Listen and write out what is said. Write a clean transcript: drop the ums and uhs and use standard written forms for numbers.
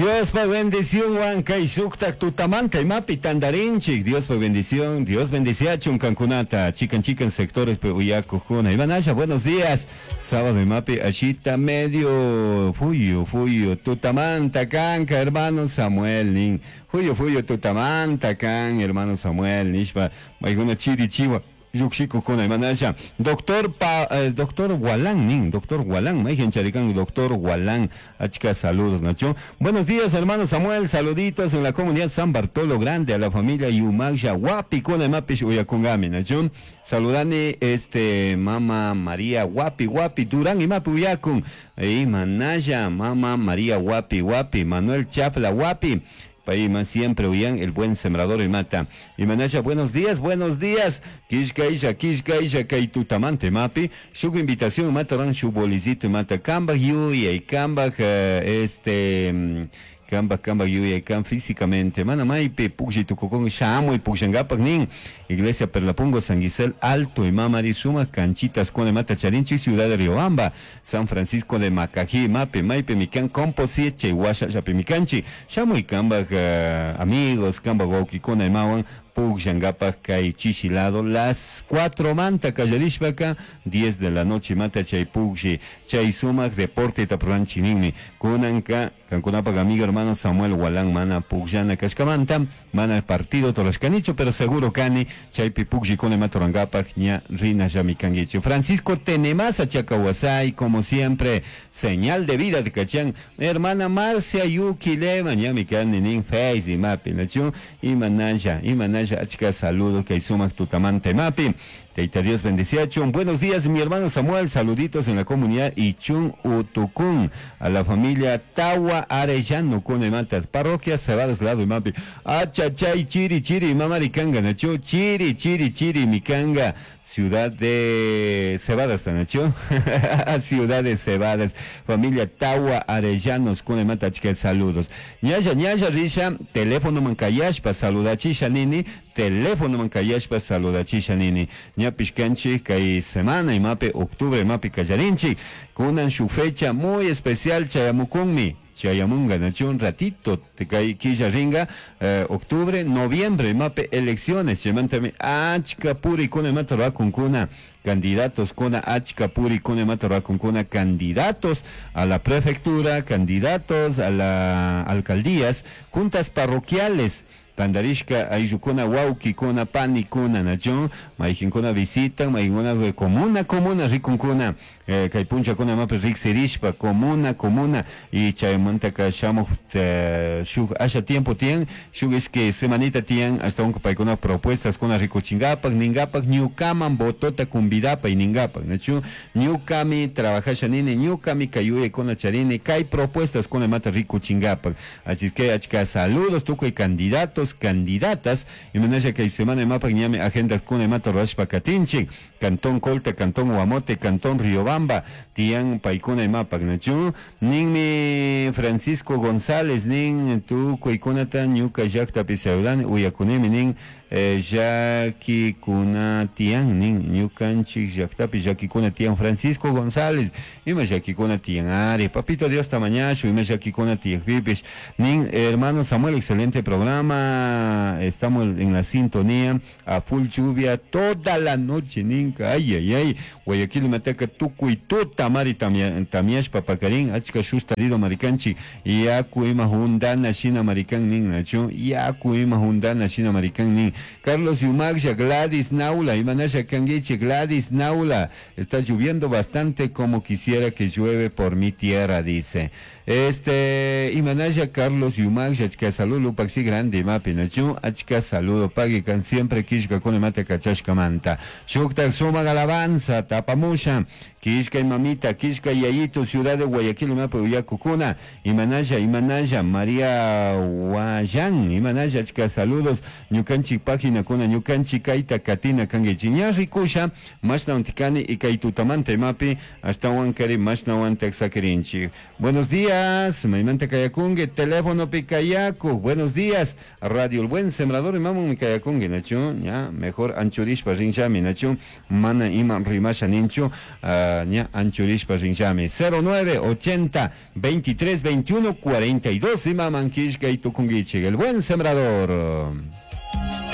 Diospa bendicionwan kay shuktak tutamanta imapi tandarinchik. Diospa bendición, Dios bendiciachun kankunata chikan chikan sectores pe uyakukuna. Imanasha, buenos días. Sábado imapi ashita medio fuyu fuyu tutamanta kanka hermano Samuel nin. Fuyu fuyu tutamanta kan hermano Samuel nishpa maykuna chiri chiwa llukshikukuna imanasha. Doctor pa, doctor Walán nin, doctor Walán, mayhan charikan doctor Walán, achka saludos nacho. Buenos días hermano Samuel, saluditos en la comunidad San Bartolo Grande a la familia Yumagsha Wapi kuna imapish uyakungami nacho. Saludani este mama María Wapi Wapi Durán imapi uyakun. Imanasha mama María Wapi Wapi Manuel Chapla Wapi. Payman siempre uyan el buen sembrador imata. Imanasha, buenos días, buenos días. Kishkaisha, kishkaisha, kay tutamante mapi. Shuk invitación mata ran shuk bolicito mata. Kambaj yuyay, kambaj este kambaj, kambaj yuyay, kan físicamente. Mana maypi pukllay tukukun shamuy pukllankapak nin. Iglesia Perlapungo, San Gisel Alto y Mamari Suma, Canchitas, Cone Mata Charinchi, Ciudad de Riobamba, San Francisco de Macají, Mape, Maipe, Mican, Composieche, Huasha, Chapimicanchi, Shamuy, Kambaj, amigos, Kambaj, Wauquicona, Imawan, pukllankapak kay chishi lado, las 4 manta kallarishpaka, 10 de la noche mata chay puklli, chay sumak deporte tapranchi ninmi, kunanka, kankunapak amigo hermano Samuel Walán mana pukllana kashkamanta, mana partido torashkanichu, pero seguro kani, chaypi pukllikuna matorankapak ña rina llami kankichu. Francisco Tenemasa Chacahuasay, como siempre, señal de vida de Cachán, hermana Marcia Yuki Lema, ñami kani nin Face y mapi, nachu, imanaya, imanaya, achka saludos kay sumak tutamante mapi. Teita Dios bendeciachun. Buenos días, mi hermano Samuel. Saluditos en la comunidad Ichun Utucún. A la familia Tawa Arellano con el Mata. Parroquia Cebadas Lado y Mapi. Achachay, chiri, chiri, mamaricanga, nacho. Chiri, chiri, chiri, micanga. Ciudad de Cebadas, nacho. Ciudad de Cebadas. Familia Tawa Arellanos con el Mata, chica, saludos. Ñaya, ñaya, risha, teléfono mancayashpa, saludachisha nini. Teléfono mancayashpa, saludachisha nini. Ñapish kanchik kay semana imapi octubre imapi kallarinchik kunan su fecha muy especial chayamukunmi chayamunga nacho un ratito te kay killa ringa octubre noviembre imapi elecciones chaymantami achka puri kuna imata ruwakunkuna candidatos kuna achka puri kuna imata ruwakunkuna candidatos a la prefectura, candidatos a la alcaldías, juntas parroquiales. Tandarishka ayllukuna wawkikuna panikuna nacho mayqinkuna visitan mayqinkuna comuna comuna rikunkuna kay punchakuna imapi riksirishpa comuna comuna y chaymantaka shamuj shuk asha tiempo tiyan shuk ishkay semanita tiyan ashtawanka paykuna propuestas kuna rikuchinkapak ninkapak ñukaman votota convidapay ninkapak nachu ñukami trabajasha nini ñukami kay yuyaykuna charini kay propuestas kuna imata rikuchinkapak así que achka saludos tukuy candidatos candidatas imanasha kay semana imapak ñami agenda kuna imata rurashpa katinchik Cantón Colta, Cantón Guamote, Cantón Riobamba, tiyan paykuna imapak nachu ninmi Francisco González nin tukuykunata ñuka llaktapi saludan uyakunimi nin llakikuna tiyan nin ñukanchik llaktapi llakikuna tiyan Francisco González ima llakikuna tiyan ari papito Dios tamañashu ima llakikuna tiyakpipish nin hermano Samuel, excelente programa, estamos en la sintonía a full lluvia toda la noche ninka ay ay ay Guayaquil mataka tukuy tuta mari tamiashpa pakarin achka shustarido marikanchik yaku ima hundana shina marikan nin nachu yaku ima hundana shina marikan nin Carlos Yumagsha, Gladys Naula, Imanasha Kanguiche, Gladys Naula, está lloviendo bastante como quisiera que llueve por mi tierra, dice. Imanasha Carlos Yumagsha, achka saludo, paxi grande, mapi, nachu, achka saludo, pague can siempre kishka con mate kachashka manta. Shukta suma alabanza, tapamusha, kishka y mamita, kishka y yayito, ciudad de Guayaquil, mapi, uyakukuna, Imanasha, Imanasha, María Guayán, Imanasha, achka saludos, ñukanchik página kuna ñukanchik kayta katina kankichik ña rikusha mashna untikani y kay tutamanta imapi ashtawan kari mashna wantak sakirinchik. Buenos días. días. Maymanta kayakunki telefonopi kayakuq. Buenos días. Radio El Buen Sembrador imamanmi kayakunki nachu? Ña mejor anchurishpa rinllami nachu? Mana ima rimasha ninchu. Ña anchurishpa rinllami. 09 80 23 21 42 imaman killkay tukunkichik. El Buen Sembrador.